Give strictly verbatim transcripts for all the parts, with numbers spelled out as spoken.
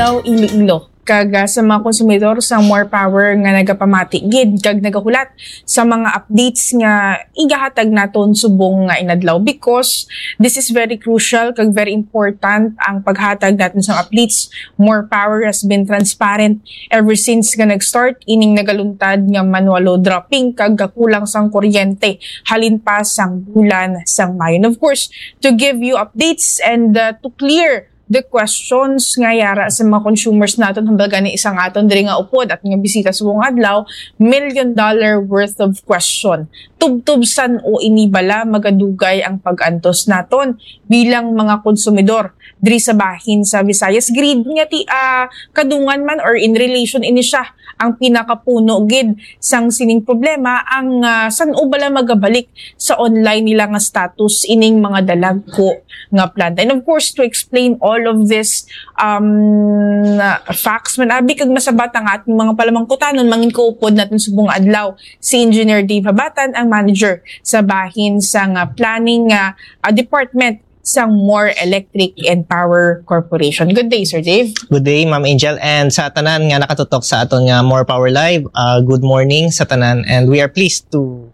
Iloilo kag, ah, sa mga konsumidor sa More Power nga nagapamati gid kag nagahulat sa mga updates nga igahatag naton subong nga inadlaw, because this is very crucial kag very important ang paghatag natin sa updates. More Power has been transparent ever since nga nag-start ining nagaluntad nga manual load dropping kag kakulang sang kuryente halin pa sang bulan sang Mayo. And of course, to give you updates and, uh, to clear the questions nga yara sa mga consumers naton, hambal gani isang aton diri nga upod at nga bisita subong adlaw, million dollar worth of question. Tubtob san-o ini bala magadugay ang pag-antos naton bilang mga konsumidor diri sa bahin sa Visayas Grid nga ti, ah, kadungan man or in relation ini siya ang pinakapuno gid sang sining problema, ang, ah, san-o bala magabalik sa online nila nga status ining mga dalagko nga planta. And of course, to explain all of this, um, facts man abi kag masabat ang ating mga palamangkutanon, mangin ko upod natin subong adlaw si Engineer Dave Habatan, ang manager sa bahin sa nga planning, ah, ah, department sang More Electric and Power Corporation. Good day, Sir Dave. Good day, Ma'am Angel, and sa tanan nga nakatutok sa aton nga More Power Live, uh, good morning sa tanan, and we are pleased to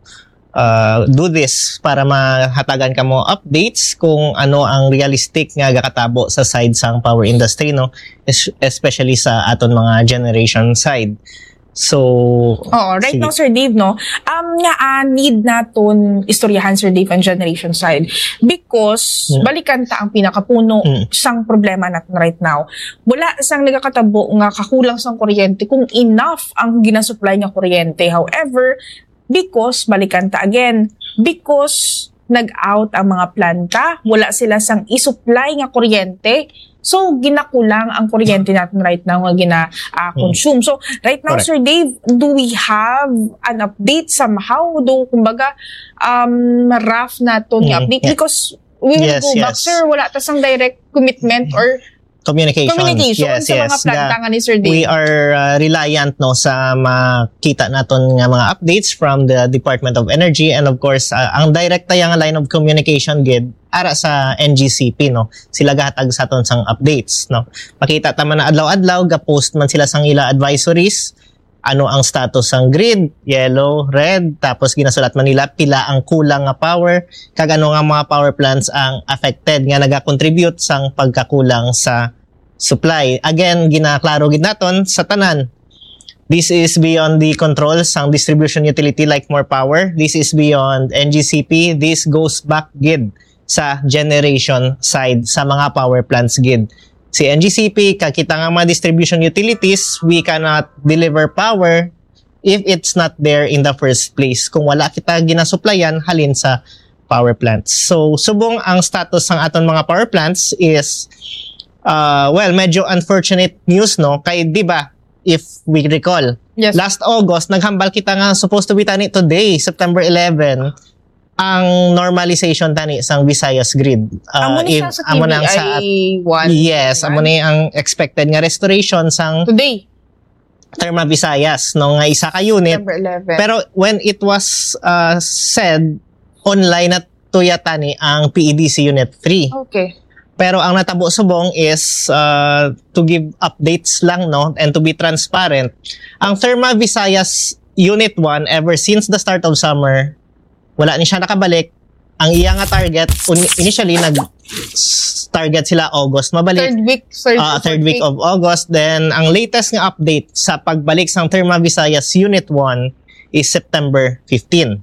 uh, do this para mahatagan kamo updates kung ano ang realistic nga gakatabo sa side sang power industry, no, es- especially sa aton mga generation side. So, Oo, right sige. Now, Sir Dave, no, um, nga, ah, need naton istoryahan, Sir Dave, ang generation side, because Mm. balikan ta ang pinakapuno Mm. sang problema natin right now. Wala sang nagakatabo nga kakulang sang kuryente kung enough ang ginasupply nga kuryente. However, because, balikan ta again, because nag-out ang mga planta, wala sila sang isupply nga kuryente, so ginakulang ang kuryente natin right now nga gina, ah, Mm. consume. So right now, Correct. Sir Dave, do we have an update somehow? Do, kumbaga, um, rough naton nga Mm, update? yeah. Because we will Yes, go back, yes. sir, wala ta sang direct commitment or Communications. communication Yes, sa mga yes. planta The- nga ni Sir Dave. We are, uh, reliant, no, sa makita naton nga mga updates from the Department of Energy, and of course, uh, ang direkta yang line of communication gid ara sa N G C P, no. Sila gahatag sa aton sang updates, no. Makita ta man na adlaw-adlaw ga-post man sila sang ila advisories, ano ang status sang grid, yellow, red, tapos ginasulat man nila pila ang kulang nga power, kag ano nga mga power plants ang affected nga nagakontribute sang pagkakulang sa supply. Again, ginaklaro gid naton sa tanan. This is beyond the control sang distribution utility like More Power. This is beyond N G C P. This goes back gid sa generation side sa mga power plants gid. Si N G C P, kag kita nga mga distribution utilities, we cannot deliver power if it's not there in the first place. Kung wala kita ginasuplayan halin sa power plants. So, subong ang status sang aton mga power plants is, uh, well, medyo unfortunate news, no? Kay, di ba, if we recall, Yes. last August, naghambal kita nga supposed to be tani today, September eleven, ang normalization tani sang Visayas grid. Uh, Amo ni if, siya sa amo na ang sa T V I one, yes, amo right? ni ang expected nga restoration sang Today. Therma Visayas, no, nga isa ka unit. September eleven. Pero when it was, uh, said, online na tuya tani ang P E D C Unit three. Okay. Pero ang natabo subong is, uh, to give updates lang, no, and to be transparent. Ang Therma Visayas Unit one, ever since the start of summer, wala ni siya nakabalik. Ang iya nga target, un- initially, nag s- target sila August mabalik. Third week, third, Ah, third fourth week week. of August. Then, ang latest nga update sa pagbalik sang Therma Visayas Unit one is September fifteen.